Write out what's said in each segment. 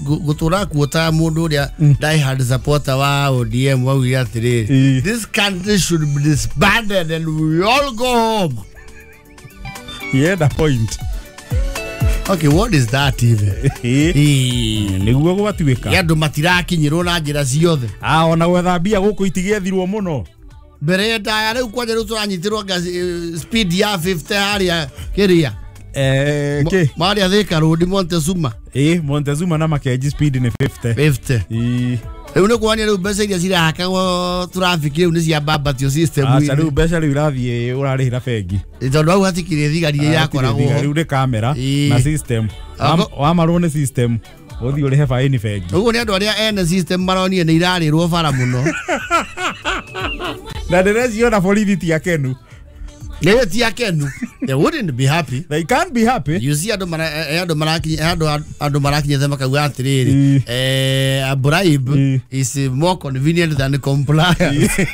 Gutura kuota mundu uria die hard supporter wa ODM waugire atiriri, this country should be disbanded and we all go home. Yeah, the point. Okay, what is that even? Niguo gwatuika. Ya andu matirakinyirwo na njira ciothe. Ah, ona gwetha mbia guku itigiethirwo muno. Mbere ndaya riu kwanja riu turanyitirwo speed ya 50 haria kiria. Ke Maria Thika Road Montezuma. Montezuma na Makenji speed ni 50. 50. Riu ni kuonia riu mbeca iria cirahakagwo traffic riu ni ciambambatio system. Aca riu mbeca riu irathie urarihira bengi. Tondu hau hatikire thigari irakoragwo. Riu ni kamera na system. Wamarwo ni system. Uthii urihe faini bengi. Uguo ni andu aria ene system maronire ni irarirwo bara muno. Na ndĩreciona borithi ti akenu. Nĩ ti akenu. They wouldn't be happy. They can't be happy. You see andu marakinyete makauga atiriri, a bribe is more convenient than compliance.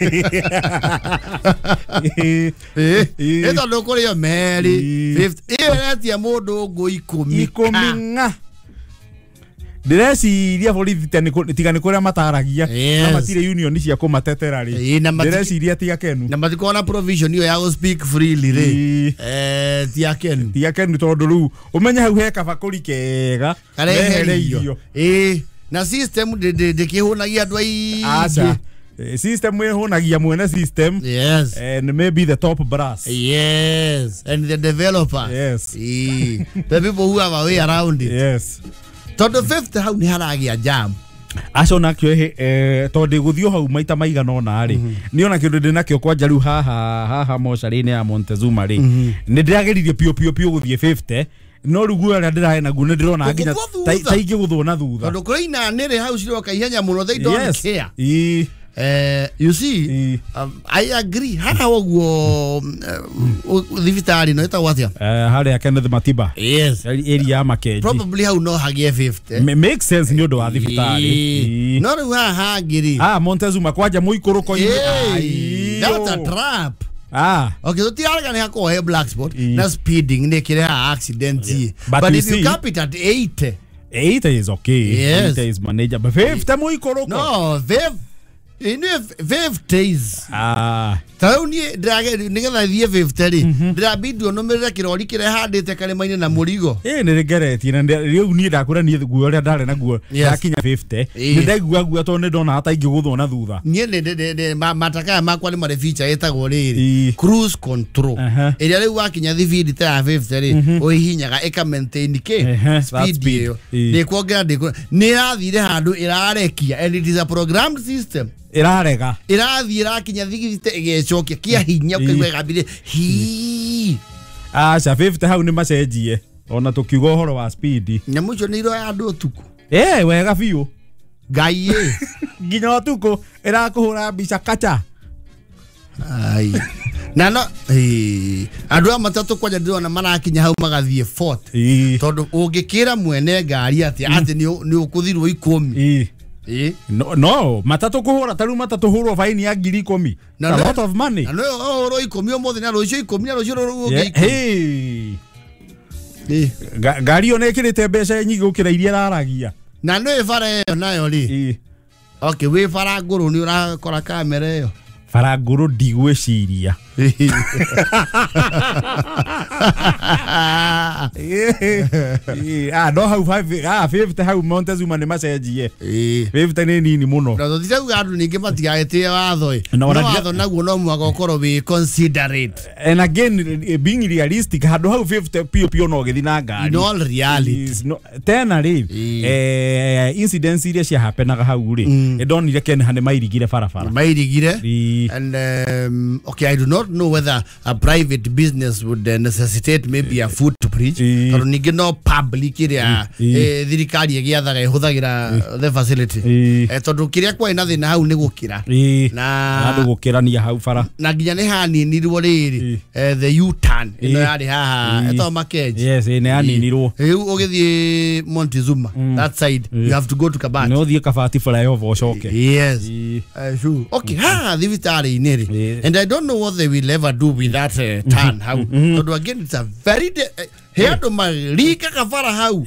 Tondu kũrĩo meri 50 ĩyo ĩretia mũndũ ngũ ikũmi. Ikũmi ng'a. Ndĩreciria borithi tiga nĩ kũrĩa mataragia na matirĩ union cia kũmatetera rĩ. Ndĩreciria ti akenu. Na matikoragwo na provision ĩyo ya gũ speak freely rĩ. Ti akenu. Ti akenu tondũ rĩu ũmenye hau he kabakũri kega karehereirio. Na system ndĩkĩhũnagia andũ aingĩ. Aca. System ĩhũnagia mwene system. Yes. And maybe the top brass. Yes. And the developer. Yes. The people who have a way around it. Yes. Tondu 50 hau ni haragia jam. Acio nakio tondu guthio hau maita maigana ona ri ni ona kindu ndi nakio kwanja riu haha haha mocarĩ-inĩ ya Montezuma ri ni ndĩrageririe piũ piũ piũ guthie 50 no riu guo aria ndĩrahe naguo ni ndĩrona nginya ta ingĩgũthwo na thutha tondu kũrĩ inanĩrĩ hau ciroka ihenya mũno, they don't care. You see, I agree. Haha ũguo thibitarĩ no ĩtagwo atĩa? Harĩa Kenneth Matiba. Yes. Area ya Makenji. Probably hau no hagĩe 50. Makes sense nĩ ũndũ wa thibitarĩ. No rĩu haha hangĩ rĩ. Montezuma kwanja mũikũrũko-inĩ. That's a trap. Okay, tũtirarega nĩ hakoragwo he black spot na speeding nĩ ĩkĩrehaga accident. But if you cap it at 80. 80 is okay. Yes. 80 is manageable. 50 mũikũrũko. No, 50. Inu 50s. Ta rĩu niĩ nĩgetha thiĩ 50 rĩ, ndĩrabindwo nũmĩrĩre kĩrori kĩrĩa handĩte karĩma-inĩ na mũrigo. Nĩ ngeretie na rĩu niĩ ndakwĩra niĩ guo ũrĩa ndarĩ naguo ndakinya 50 nĩ ndaigua guo tondũ nĩ ndona ta ingĩgũthwo na thutha. Niĩ matakaya makwa nĩ marĩ feature ĩtagwo rĩrĩ cruise control. Ĩrĩa rĩu wakinya thibindi ta ya 50 rĩ, ũhihinyaga ĩka maintain kĩ speed ĩyo. Ndĩkuongerera nĩ ĩrathire handũ ĩrarekia and it is a programmed system. Irarega. Irathiĩ ĩrakinya thigirite ĩgecokia kia hinya ũkaigua ĩgambire hii. Aca 50 hau nĩ macenjie ona tũkiuga ũhoro wa speed. Nyamũ icio nĩ iroya andũ ũtukũ. Wega biũ. Ngai ĩ. Nginya ũtukũ ĩrakũhũra mbica kacha. Ai. Na no andũ a matatũ kwanja ndĩrona marakinya hau magathiĩ 40. Tondũ ũngĩkĩra mwene ngari atĩ atĩ nĩ ũkũthirwo 10. No, matatu kuhura taru matatu hurwo faini ya 10,000. A lot of money. Na no hurwo 10 umuthi na rucio 10 na rucio rũngĩ 10. Ngari yo nĩkĩrĩte mbeca nyingĩ gũkĩra iria ĩraragia. Na no bara ĩyo nayo rĩ. Okay, wĩ bara ngũrũ nĩ ũrakora kamera ĩyo. Bara ngũrũ ndigwĩciria. No hau 50 hau Montezuma nĩ macenjie. 50 nĩ nini mũno. Na tũtirauga andũ ningĩ matigagĩtĩe watho ĩ. No watho naguo no mũhaka ũkorwo wĩ considerate. And again being realistic handũ hau 50 piũ piũ no gĩthiĩ na ngari. In all reality. Tena rĩ incidents iria ciahapenaga hau rĩ ndonire Kenha nĩ mairigire barabara. Mairigire. And okay, I do not know whether a private business would necessitate maybe a footbridge. Tondũ ningĩ no public ĩrĩa thirikari ĩgĩathaga ĩhũthagĩra the facility. Tondũ kĩrĩa kwarĩ na thĩna hau nĩ gũkĩra. Na andũ gũkĩrania hau bara. Na nginya nĩ haninirwo rĩrĩ the U-turn ĩno yarĩ haha ĩtagwo Makenji. Yes, nĩ yaninirwo. Rĩu ũgĩthiĩ Montezuma that side you have to go to Kabati. No ũthiĩ Kabati flyover ũcoke. Yes. Sure. Okay, haha thibitarĩ-inĩ rĩ. And I don't know what they will ever do with that turn hau. Tondũ again it's a very he andũ marikaga bara hau.